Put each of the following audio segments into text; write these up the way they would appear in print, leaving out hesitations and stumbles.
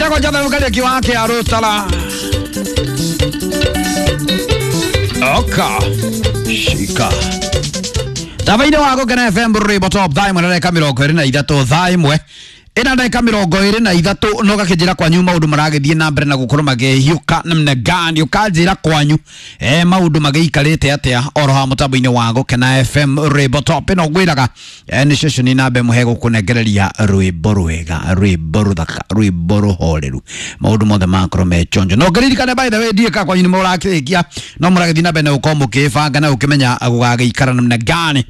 Njĩtagwo Jonathan Kariũki wa Kĩarũtara. Oka shika tabaine wa Gũkena FM rwĩmbo top thaa ĩmwe na ndagĩka 23, thaa ĩmwe ĩna ndagĩka 23, no gakĩnjĩra kwanyu maũndũ maragĩthiĩ na mbere na gũkorwo makĩhiũka namna gani, ũkanjĩra kwanyu maũndũ magĩikarĩte atĩa oro ha mũtambo-inĩ wa Gũkena FM rwĩmbo top ĩno ngwĩraga nĩ ceceni namba ĩmwe hegũkũnengereria rwĩmbo rwega, rwĩmbo rũthaka, rwĩmbo rũhoreru, maũndũ mothe makorwo me chonjo. No ngĩririkane, by the way, ndiĩ ka kwanyu nĩ mũrakĩrĩkia, no mũragĩthiĩ na mbere na gũkorwo mũkĩbanga na gũkĩmenya gũgagĩikara namna gani.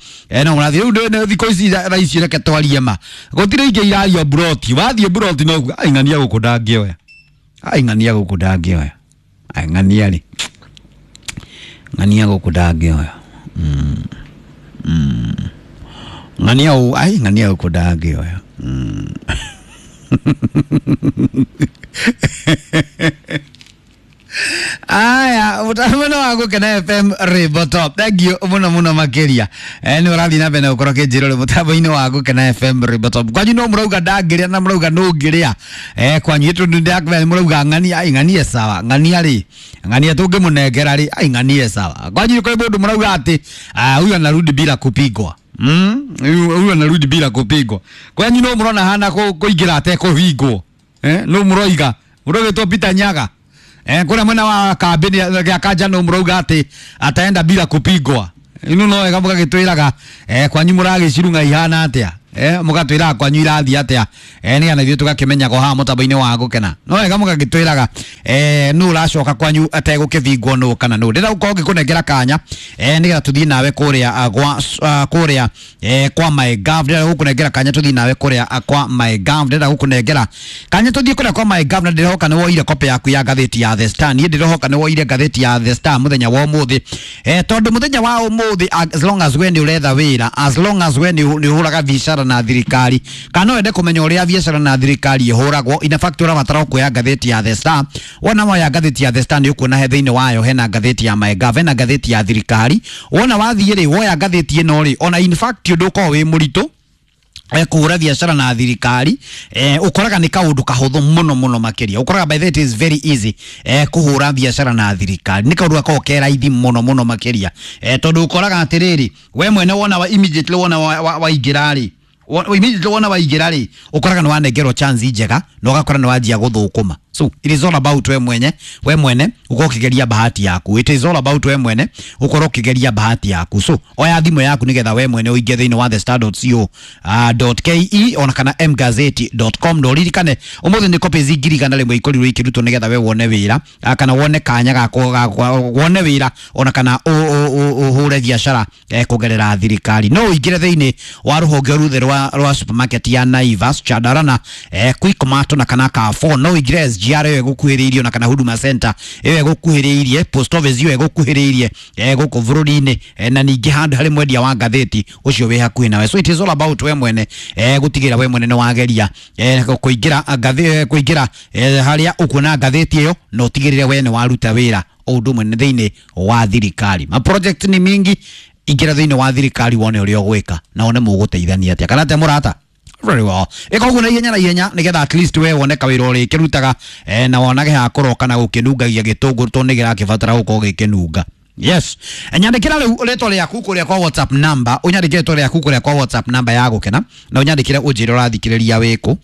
No mũrathiĩ rĩu thikũ ici thaa ici, reke twarie ma, gũtirĩ ingĩ irario mburoti, wathiĩ mburoti no kuga ai ng'ania gũkũ ndangĩoya, ai ng'ania gũkũ ndangĩoya, ai ng'ania rĩ, ng'ania gũkũ ndangĩoya. Ng'ania ũ, ai ng'ania gũkũ ndangĩoya. Aya, mũtambo wa Gũkena FM rwĩmbo top, thank you mũno mũno makĩria. Nĩ ũrathiĩ na mbere na gũkorwo kĩnjĩra ũrĩ mũtambo-inĩ wa Gũkena FM rwĩmbo top. Kwanyu no mũrauga ndangĩrĩa na mũrauga nũngĩrĩa kwanyu tondũ ndakũmenya mũrauga ng'ania, ai ng'ania sawa, ng'ania rĩ, ng'ania tũngĩmũnengera rĩ, ai ng'ania sawa. Kwanyu kwĩ mũndũ mũrauga atĩ, "Ah, huyu anarudi bila kupigwa." Huyu anarudi bila kupigwa. Kwanyu no mũrona hana kũingĩra atekũhingwo. No mũroiga mũrogĩtwo Peter Nyaga kũrĩa mwena wa kambĩ gĩa kanja, no mũrauga atĩ ataenda bila kupigwa. Ino no wega mũgagĩtwĩraga kwanyu mũragĩcirung'a ihana atĩa, mũgatwĩraga kwanyu irathiĩ atĩa, nĩgetha ithuĩ tũgakĩmenya haha mũtambo-inĩ wa Gũkena. No wega mũgagĩtwĩraga nũ ũracoka kwanyu ategũkĩbingwo, nũ kana nũ. Ndĩrenda gũkorwo ngĩkũnengera kanya nĩgetha tũthiĩ nawe kũrĩa gwa kũrĩa kwa MyGov. Ndĩrenda gũkũnengera kanya tũthiĩ nawe kũrĩa kwa MyGov. Ndĩrenda gũkũnengera kanya tũthiĩ kũrĩa kwa MyGov, na ndĩrehoka nĩ woire copy yaku ya ngathĩti ya The Star. Niĩ ndĩrehoka nĩ woire ngathĩti ya The Star mũthenya wa ũmũthĩ, tondũ mũthenya wa ũmũthĩ, as long as we nĩ ũretha wĩra, as long as we nĩ ũhũraga biacara na thirikari, kana wende kũmenya ũrĩa biacara na thirikari ĩhũragwo, in fact ũrabatara kuoya ngathĩti ya The Star. Wona woya ngathĩti ya The Star, nĩ ũkuona he thĩinĩ wayo hena ngathĩti ya MyGov, hena ngathĩti ya thirikari. Wona wathiĩ rĩ, woya ngathĩti ĩno rĩ, ona in fact ũndũ ũkoragwo wĩ mũritũ kũhũra biacara na thirikari, ũkoraga nĩ kaũndũ kahũthũ mũno mũno makĩria. Ũkoraga, by the way, it is very easy kũhũra biacara na thirikari, nĩ kaũndũ gakoragwo ke raithi mũno mũno makĩria, tondũ ũkoraga atĩrĩrĩ, we mwene wona wa immediately wona waingĩra rĩ, immediately wona waingĩra rĩ, ũkoraga nĩ wanengerwo chance njega na ũgakora nĩ wanjia gũthũkũma. So it is all about we mwenye, we mwene ũkorwo ũkĩgeria bahati yaku. It is all about we mwene ũkorwo ũkĩgeria bahati yaku. So oya thimũ yaku nĩgetha we mwene ũingĩ thĩinĩ wa thestar.co .ke ona kana mgazeti.com, na ũririkane ũmũthĩ nĩ copies 100,000 ikorirwo ikĩrutwo nĩgetha we wone wĩra, kana wone kanya ga wone wĩra ona kana ũhũre biacara kũgerera thirikari. No ũingĩre thĩinĩ wa rũhonge ruthe rwa supermarket ya Naivas, Chandarana, Quickmart na kana Carrefour. No ũingĩre SGR ĩyo ĩgũkuhĩrĩirie ona kana Huduma Center ĩyo ĩgũkuhĩrĩirie, post office ĩyo ĩgũkuhĩrĩirie gũkũ bũrũri-inĩ, na ningĩ handũ harĩ mwendia wa ngathĩti ũcio wĩ hakuhĩ nawe. So it is all about we mwene gũtigĩrĩra we mwene nĩ wageria kũingĩra kũingĩra harĩa ũkuona ngathĩti ĩyo, na ũtigĩrĩre we nĩ waruta wĩra o ũndũ ũmwe thĩinĩ wa thirikari. Ma project nĩ mingi, ingĩra thĩinĩ wa thirikari wone ũrĩa ũgwĩka na wone mũgũteithania atĩa, kana atĩa mũrata. Very well, ĩka ũguo na ihenya na ihenya nĩgetha at least we wone kawĩra ũrĩkĩrutaga na wonage ha kũroka na gũkĩnungagia gĩtũngũrũ, tondũ nĩ kĩrakĩbatara gũkorwo gĩkĩnunga. Yes, nyandĩkĩra rĩu rĩtwa rĩaku kũrĩa kwa WhatsApp number, ũnyandĩkĩre rĩtwa rĩaku kũrĩa kwa WhatsApp number ya Gũkena, na ũnyandĩkĩre ũnjĩre ũrathikĩrĩria wĩkũ.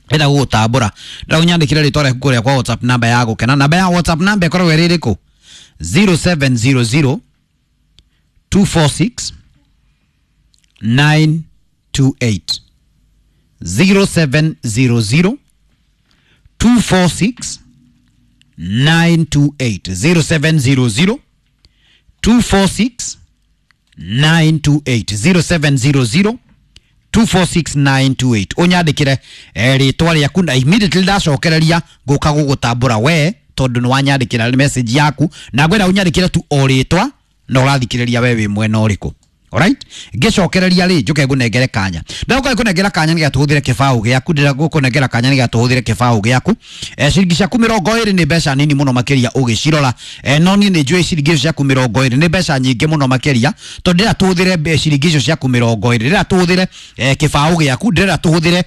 Ndĩrenda gũgũtambũra, ndĩrenda ũnyandĩkĩre rĩtwa rĩaku kũrĩa kwa WhatsApp number ya Gũkena. Namba ya WhatsApp number ĩkoragwo ĩrĩ ĩrĩkũ? 0700 246 928, 0700 246 928, 0700 246 928, 0700 246928. Ũnyandĩkĩre rĩtwa rĩaku na immediately ndacokereria ngũka gũgũtambũra we, tondũ nĩ wanyandĩkĩra message yaku, na ngwenda ũnyandĩkĩre tu o rĩtwa na ũrathikĩrĩria we wĩ mwena ũrĩkũ. Alright, ngicokereria ri njuke ngunengere kanya. Ndaguka kunengera kanya nigetha tuhuthire kibao giaku, ndira gukunengera kanya nigetha tuhuthire kibao giaku. Ciringi ciaku 20 ni mbeca nini muno makiria ugicirora. No ni ni njui ciringi icio ciaku 20 ni mbeca nyingi muno makiria, tondu ndira tuhuthire ciringi icio ciaku 20, ndira tuhuthire kibao giaku, ndira tuhuthire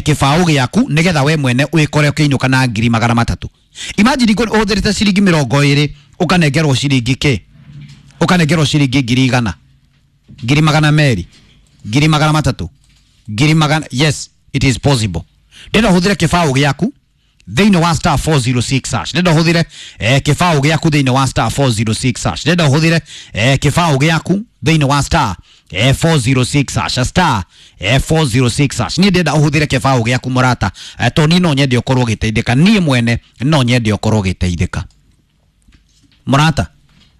kibao giaku nigetha we mwene wikore ukiinuka na 300,000. Imagine uhuthirite ciringi 20 ukanengerwo ciringi ki, ukanengerwo ciringi 100,000, 200,000, 300,000, 100,000. Yes, it is possible. Ndĩrenda ũhũthĩre kĩbaũ gĩaku thĩinĩ wa star 406 hash. Ndĩrenda ũhũthĩre kĩbaũ gĩaku thĩinĩ wa star 406 hash. Ndĩrenda ũhũthĩre kĩbaũ gĩaku thĩinĩ wa star 406 hash, star 406 hash. Niĩ ndĩrenda ũhũthĩre kĩbaũ gĩaku mũrata, tondũ niĩ no nyende ũkorwo ũgĩteithĩka. Niĩ mwene no nyende ũkorwo ũgĩteithĩka mũrata.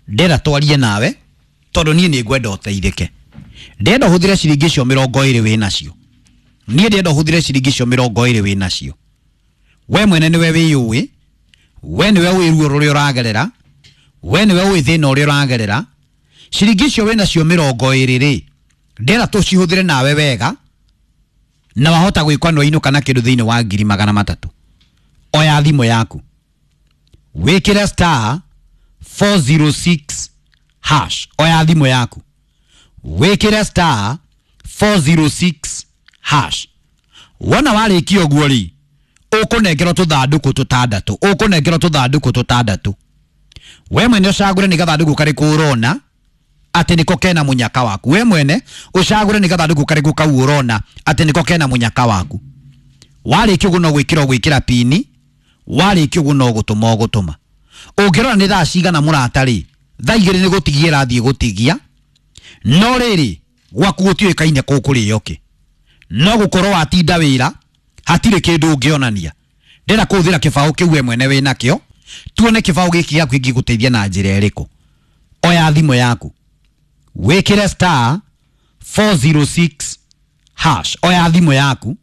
Ndĩrenda twarie nawe tondu niĩ nĩ ngwenda ũteithĩke. Ndĩrenda ũhũthĩre ciringi icio 20 wĩ nacio. Niĩ ndĩrenda ũhũthĩre ciringi icio 20 wĩ nacio. We mwene nĩwe wĩyũĩ, we nĩwe wĩ ruo rũrĩa ũragerera, we nĩwe wĩ thĩna ũrĩa ũragerera. Ciringi icio wĩ nacio 20 rĩ, ndĩrenda tũcihũthĩre nawe wega, na wahota gwĩkwa no inũka na kĩndũ thĩinĩ wa 300,000. Oya thimũ yaku, wĩkĩre star 406 hash. Oya thimũ yaku, wĩkĩre star 406 hash. Wona warĩkia ũguo rĩ, ũkũnengerwo tũthandũkũ tũtandatũ, ũkũnengerwo tũthandũkũ tũtandatũ. We mwene ũcagũre nĩ gathandũkũ karĩkũ ũrona atĩ nĩko kena mũnyaka waku. We mwene ũcagũre nĩ gathandũkũ karĩkũ kau ũrona atĩ nĩko kena mũnyaka waku. Warĩkia ũguo no gwĩkĩra ũgwĩkĩra pini, warĩkia ũguo no gũtũma ũgũtũma. Ũngĩrora nĩ thaa cigana mũrata rĩ, thaa 2 nĩ gũtigia ĩrathiĩ gũtigia. No rĩrĩ gwaku gũtiũĩkaine kũkũrĩo kĩ, no gũkorwo watinda wĩra hatirĩ kĩndũ ũngĩonania. Ndĩrenda kũhũthĩra kĩbaũ kĩu we mwene wĩ nakĩo, tuone kĩbaũ gĩkĩ gĩaku kĩngĩgũteithia na njĩra ĩrĩkũ. Oya thimũ yaku, wĩkĩre star 406 hash. Oya thimũ yaku,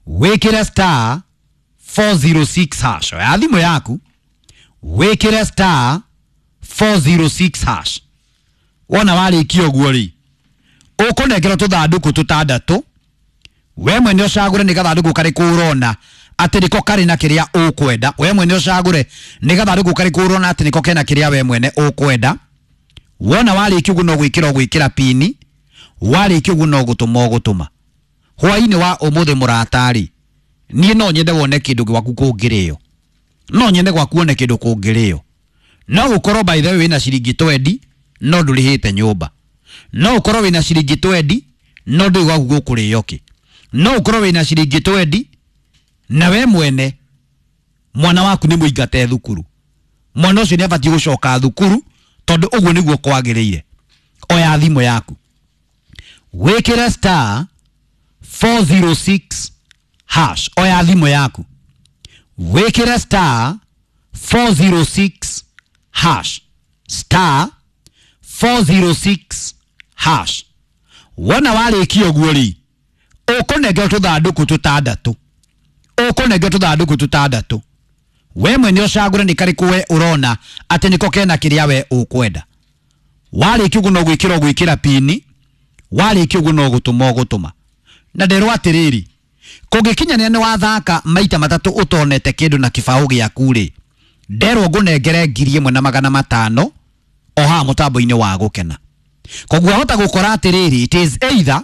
wĩkĩre star 406 hash. Oya thimũ yaku, wĩkĩre star 406 hash. Wona warĩkia ũguo rĩ, ũkũnengerwo tũthandũkũ tũtandatũ. We mwene ũcagũre nĩ gathandũkũ karĩkũ ũrona atĩ nĩko karĩ na kĩrĩa ũkwenda. We mwene ũcagũre nĩ gathandũkũ karĩkũ ũrona atĩ nĩko kena kĩrĩa we mwene ũkwenda. Wona warĩkia ũguo no gwĩkĩra ũgwĩkĩra pini, warĩkia ũguo no gũtũma ũgũtũma. Hwaĩ-inĩ wa ũmũthĩ mũrata rĩ, niĩ no nyende wone kĩndũ gwaku kũngĩrĩo, no nyende gwaku wone kĩndũ kũngĩrĩo. No gũkorwo by the way wĩna ciringi 20 no ndũrĩhĩte nyũmba, no ũkorwo wĩna ciringi 20 no ndũĩ gwaku gũkũrĩo kĩ, no ũkorwo wĩna ciringi 20 na we mwene mwana waku nĩ mũingate thukuru, mwana ũcio nĩ abatiĩ gũcoka thukuru tondũ ũguo nĩguo kwagĩrĩire. Oya thimũ yaku, wĩkĩre star 406 hash. Oya thimũ yaku, wĩkĩre star 406 hash, star 406 hash. Wona warĩkia ũguo rĩ, ũkũnengerwo tũthandũkũ tũtandatũ, ũkũnengerwo tũthandũkũ tũtandatũ. We mwene ũcagũre nĩ karĩkũ we ũrona atĩ nĩko kena kĩrĩa we ũkwenda. Warĩkia ũguo no gwĩkĩra ũgwĩkĩra pini, warĩkia ũguo no gũtũma ũgũtũma. Na nderwo atĩrĩrĩ, kũngĩkinyanĩra nĩ wathaka maita matatũ ũtonete kĩndũ na kĩbaũ gĩaku rĩ, nderwo ngũnengere 1,500 o haha mũtambo-inĩ wa Gũkena. Koguo wahota gũkora atĩrĩrĩ, it is either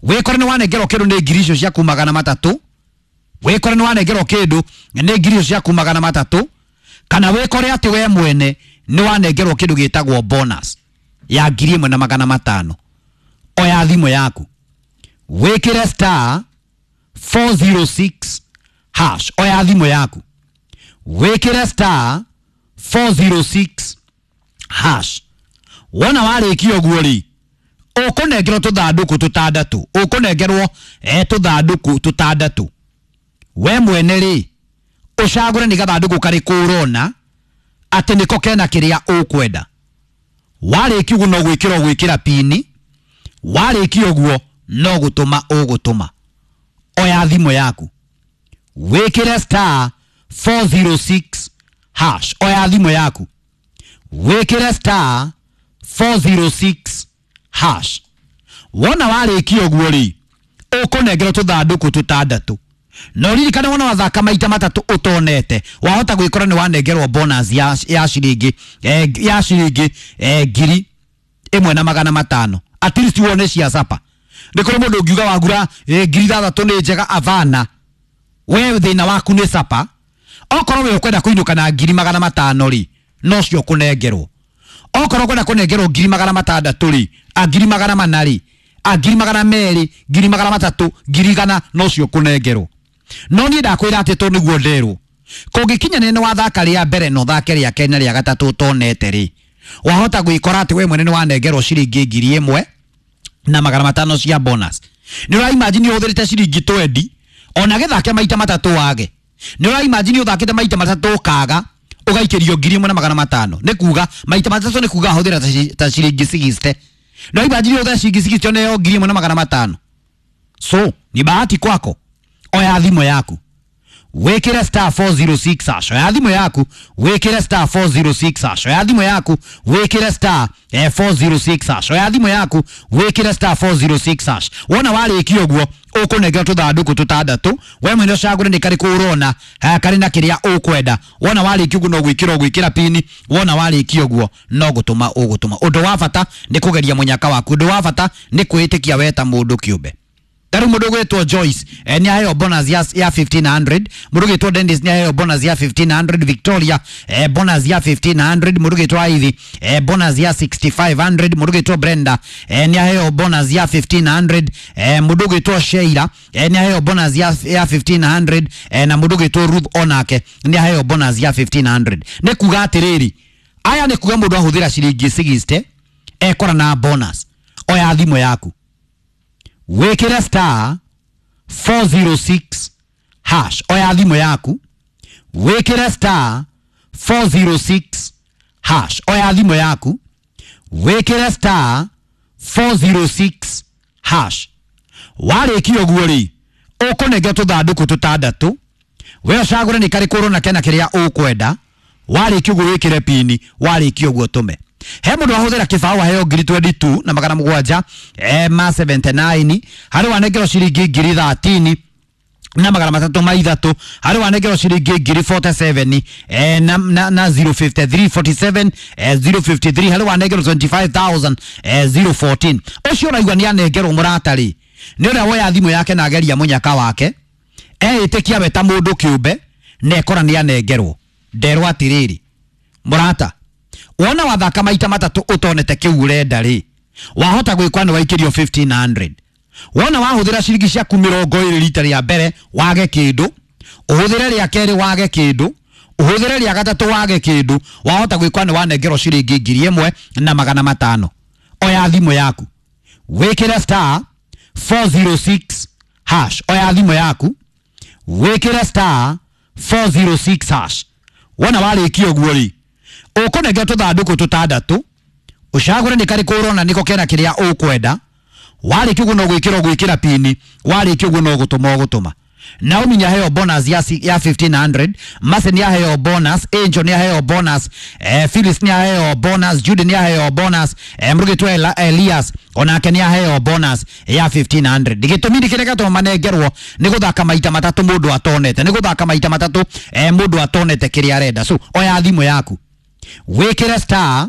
wĩkore nĩ wanengerwo kĩndũ nĩ ngiri icio ciaku 300, wĩkore nĩ wanengerwo kĩndũ nĩ ngiri icio ciaku 300, kana wĩkore atĩ we mwene nĩ wanengerwo kĩndũ gĩtagwo bonus ya 1,500. Oya thimũ yaku, wĩkĩre star 406 hash. Oya thimũ yaku, wĩkĩre star 406 hash. Wona warĩkia ũguo rĩ, ũkũnengerwo tũthandũkũ tũtandatũ, ũkũnengerwo tũthandũkũ tũtandatũ. We mwene rĩ, ũcagũre nĩ gathandũkũ karĩkũ ũrona atĩ nĩko kena kĩrĩa ũkwenda. Warĩkia ũguo no gwĩkĩra ũgwĩkĩra pini, warĩkia ũguo no gũtũma ũgũtũma. Oya thimũ yaku, wĩkĩre star 406 hash. Oya thimũ yaku, wĩkĩre star 406 hash. Wona warĩkia ũguo rĩ, ũkũnengerwo tũthandũkũ tũtandatũ. No ririkane wona wathaka maita matatũ ũtonete, wahota gwĩkora nĩ wanengerwo bonus ya ciringi ya ciringi 1500. At least wone cia sapa. Nĩ kũrĩ mũndũ ũngiuga wagura 6000 nĩ njega, avana. We thĩna waku nĩ sapa. Okorwo we ũkwenda kũinũka na 500 rĩ, no cio kũnengerwo. Okorwo ũkwenda kũnengerwo 600 rĩ, a 400 rĩ, a 200, 300, 100 no cio kũnengerwo. No niĩ ndakwĩra atĩ to nĩguo nderwo. Kũngĩkinya nĩ wathaka rĩa mbere na ũthake rĩa kerĩ na rĩa gatatũ ũtonete rĩ, wahota gwĩkora atĩ we mwene nĩ wanengerwo ciringi 1500 cia bonus. Nĩ ũra imagine ũhũthĩrĩte ciringi 20 ona gĩthake maita matatũ wage. Nĩ ũra imagine ũthakĩte maita matatũ ũkaga ũgaikĩrio 1500. Nĩ kuga maita matatũ nĩ kuga hũthĩra ta ciringi 60. Nĩ imagine ũhũthĩra ciringi 60 nĩyo 1500. So ni bahati kwako. Oya thimũ yaku wĩkĩre star 406 hash. Oya thimũ yaku wĩkĩre star 406 hash. Oya thimũ yaku wĩkĩre star 406 hash. Oya thimũ yaku wĩkĩre star 406 hash. Wona warĩkia ũguo ũkũnengerwo tũthandũkũ tũtandatũ, we mwene ũcagũre nĩ karĩkũ ũrona karĩ na kĩrĩa ũkwenda. Wona warĩkia ũguo no gwĩkĩra ũgwĩkĩra pini. Wona warĩkia ũguo no gũtũma ũgũtũma. Ũndũ wa bata nĩ kũgeria mũnyaka waku. Ũndũ wa bata nĩ kwĩĩtĩkia we ta mũndũ kĩũmbe. Taru mũndũ ũgwĩtwo Joyce nĩ aheo bonus ya 1500. Mũndũ ũgwĩtwo Dennis nĩ aheo bonus ya 1500. Victoria bonus ya 1500. Mũndũ ũgwĩtwo Ivy bonus ya 6500. Mũndũ ũgwĩtwo Brenda nĩ aheo bonus ya 1500. Mũndũ ũgwĩtwo Sheila nĩ aheo bonus ya 1500 na mũndũ ũgwĩtwo Ruth onake nĩ aheo bonus ya 1500. Nĩ kuga atĩrĩrĩ, aya nĩ kuga mũndũ ahũthĩra ciringi 60 ekora na bonus. Oya thimũ yaku wĩkĩre star 406 hash. Oya thimũ yaku wĩkĩre star 406 hash. Oya thimũ yaku wĩkĩre star 406 hash. Warĩkia ũguo rĩ, ũkũnengerwo tũthandũkũ tũtandatũ, we ũcagũre nĩ karĩkũ ũrona kena kĩrĩa ũkwenda. Warĩkia ũguo wĩkĩre pini. Warĩkia ũguo tũme. He mũndũ ahũthĩra kĩbaũ aheo 22 na magana mũgwanja ma 79. Harĩ wanengerwo ciringi 13 na magana matatũ ma ithatũ. Harĩ wanengerwo ciringi 47 na 053 47 053. Harĩ wanengerwo 25000 014. Ũcio ũraigua nĩ anengerwo mũrata rĩ, nĩ ũrĩa woya thimũ yake na ageria mũnyaka wake, eĩtĩkia we ta mũndũ kĩũmbe na ekora nĩ anengerwo. Nderwo atĩrĩrĩ mũrata, wona wathaka maita matatũ ũtonete kĩu ũrenda rĩ, wahota gwĩkwa nĩ waikĩrio 1500. Wona wahũthĩra ciringi ciaku 20 rita rĩa mbere wage kĩndũ, ũhũthĩre rĩa kerĩ wage kĩndũ, ũhũthĩre rĩa gatatũ wage kĩndũ, wahota gwĩkwa nĩ wanengerwo ciringi 1500. Oya thimũ yaku wĩkĩre star 406 hash. Oya thimũ yaku wĩkĩre star 406 hash. Wona warĩkia ũguo rĩ, ũkũnengerwo tũthandũkũ tũtandatũ, ũcagũre nĩ karĩkũ ũrona nĩko kena kĩrĩa ũkwenda. Warĩkia ũguo no gwĩkĩra ũgwĩkĩra pini. Warĩkia ũguo no gũtũma ũgũtũma. Naomi nĩ aheo bonus ya 1500. Mercy nĩ aheo bonus. Angel nĩ aheo bonus. Phyllis nĩ aheo bonus. Judy nĩ aheo bonus. Mũrugĩtwo Elias onake nĩ aheo bonus ya 1500. Gĩtũmi nĩ kĩrĩa gĩatũma manengerwo nĩ gũthaka maita matatũ mũndũ atonete, nĩ gũthaka maita matatũ mũndũ atonete kĩrĩa arenda. So oya thimũ yaku wĩkĩre star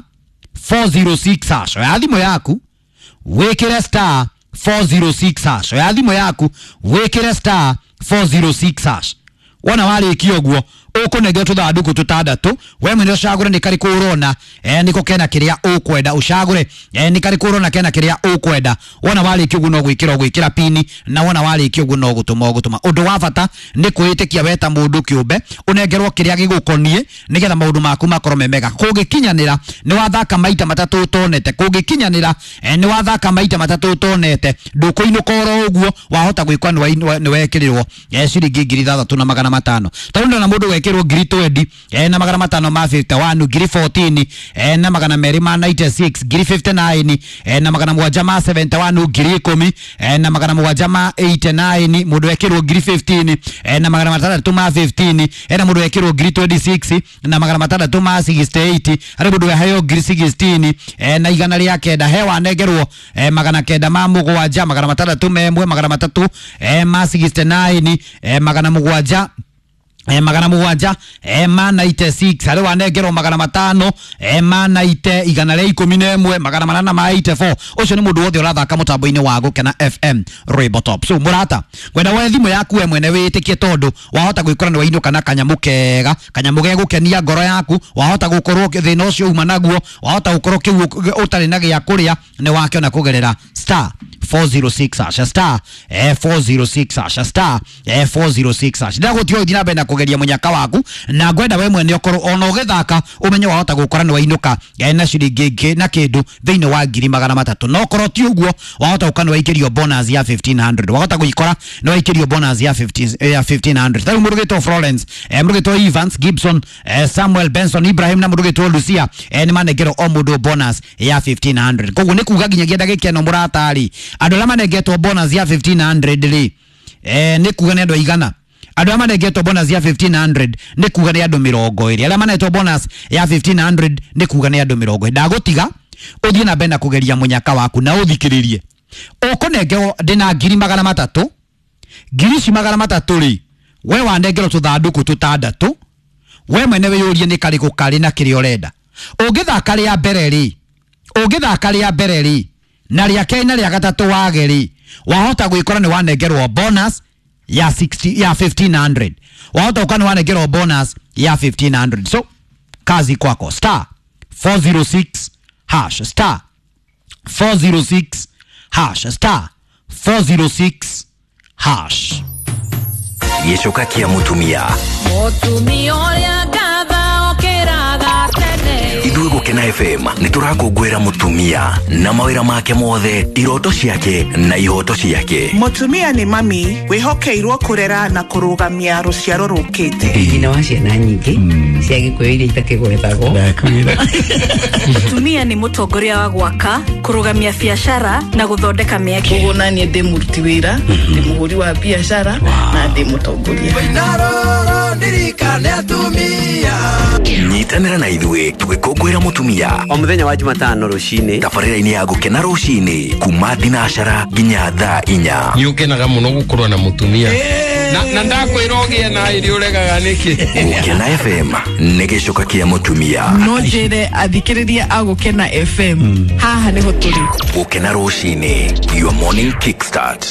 406 hash. Oya thimũ yaku wĩkĩre star 406 hash. Oya thimũ yaku wĩkĩre star 406 hash. Wona warĩkia ũguo ũkũnengerwo tũthandũkũ tũtandatũ, we mwene ũcagũre nĩ karĩkũ ũrona nĩko kena kĩrĩa ũkwenda. Ũcagũre nĩ karĩkũ ũrona kena kĩrĩa ũkwenda. Wona warĩkia ũguo no gwĩkĩra ũgwĩkĩra pini, na wona warĩkia ũguo no gũtũma ũgũtũma. Ũndũ wa bata nĩ kwĩĩtĩkia we ta mũndũ kĩũmbe, ũnengerwo kĩrĩa gĩgũkoniĩ nĩgetha maũndũ maku makorwo me mega. Kũngĩkinyanĩra nĩ wathaka maita matatũ ũtonete, kũngĩkinyanĩra nĩ wathaka maita matatũ ũtonete, ndũkũinũka oro ũguo, wahota gwĩkwa nĩ wekĩrĩrwo ciringi 6500. Tondũ ndona mũndũ wekirwo ngiri 20 na magana matano ma 51, ngiri 14 na magana merĩ ma 96, ngiri 59 na magana mũgwanja ma 71, ngiri 10 na magana mũgwanja ma 89, mũndũ wekirwo ngiri 15 na magana matandatũ ma 15, na mũndũ wekirwo ngiri 26 na magana matandatũ ma 68, harĩ mũndũ weheo ngiri 16 na igana rĩa kenda, he wanengerwo magana kenda ma mũgwanja, magana matandatũ memwe, magana matatũ ma 69, magana mũgwanja magana mũgwanja ma 96, harĩ wanengerwo magana matano ma 90, igana rĩa ikũmi na ĩmwe, magana manana ma 84. Ũcio nĩ mũndũ wothe ũrathaka mũtambo-inĩ wa Gũkena FM Rwĩmbo Top. So mũrata, ngwenda woe thimũ yaku we mwene wĩtĩkie, tondũ wahota gwĩkora nĩ wainũka na kanyamũ kega, kanyamũ gegũkenia ngoro yaku, wahota gũkorwo thĩna ũcio uma naguo, wahota gũkorwo kĩu ũtarĩ na gĩa kũrĩa nĩ wakĩona kũgerera star 406 hash, star 406 hash, star 406 hash. Ndagũtiga ũthiĩ na mbere na kũgeria mũnyaka waku, na ngwenda we mwene ũkorwo ona ũgĩthaka ũmenye wahota gũkora nĩ wainũka na ciringi ĩngĩ na kĩndũ thĩinĩ wa ngiri magana matatũ. No korwo ti ũguo, wahota gũka nĩ waikĩrio bonus ya 1500, wahota gũikora nĩ waikĩrio bonus ya 15 ya 1500. Tarĩu mũndũ ũgĩtwo Florence, mũndũ ũgĩtwo Evans Gibson, Samuel Benson Ibrahim na mũndũ ũgĩtwo Lucia nĩ manengerwo o mũndũ bonus ya 1500. Koguo nĩ kuga nginyagia ndagĩka ĩno mũrata-rĩ, andũ arĩa manengetwo bonus ya 1500 rĩ, nĩ kuga nĩ andũ aigana? Andũ arĩa manengetwo bonus ya 1500 nĩ kuga nĩ andũ 20. Arĩa manetwo bonus ya 1500 nĩ kuga nĩ andũ 20. Ndagũtiga ũthiĩ na mbere na kũgeria mũnyaka waku na ũthikĩrĩrie. Ũkũnengerwo ndĩna ngiri magana matatũ, ngiri ici magana matatũ rĩ, we wanengerwo tũthandũkũ tũtandatũ, we mwene wĩyũrie nĩ karĩkũ karĩ na kĩrĩa ũrenda. Ũngĩthaka rĩa mbere rĩ, ũngĩthaka rĩa mbere rĩ na rĩa kerĩ na rĩa gatatũ wage rĩ, wahota gwĩkora nĩ wanengerwo bonus ya 60 ya 1500, wahota gũkora nĩ wanengerwo bonus ya 1500. So kazi kwako, star 406 hash, star 406 hash, star 406 hash. Gĩcoka kĩa mũtumia. Mũtumia ũrĩa ngatha okĩraga tene. Ithuĩ Gũkena FM nĩ tũrakũngũĩra mũtumia na mawĩra make mothe, iroto ciake na ihoto ciake. Mũtumia nĩ mami wĩhokeirwo kũrera na kũrũgamia rũciaro rũkĩte. Nyina wa ciana nyingĩ cia Gĩkũyũ iria itakĩgwetagwo. Mũtumia nĩ mũtongoria wa gwaka, kũrũgamia biacara na gũthondeka mĩeke. Koguo naniĩ ndĩ mũruti wĩra, ndĩ mũhũri wa biacara na ndĩ mũtongoria. Nyitanĩra na ithuĩ tũgĩkũngũĩra mũtumia o mũthenya wa Jumatano rũcinĩ, tabarĩra-inĩ ya Gũkena rũcinĩ kuma thinacara nginya thaa inya. Nĩ ũkenaga mũno gũkorwo na mũtumia na ndakwĩra ũgĩe na ĩrĩ ũregaga nĩkĩ. Gũkena FM nĩ gĩcoka kĩa mũtumia. No njĩre athikĩrĩria a Gũkena FM, haha nĩho tũrĩ. Gũkena rũcinĩ, your morning kickstart.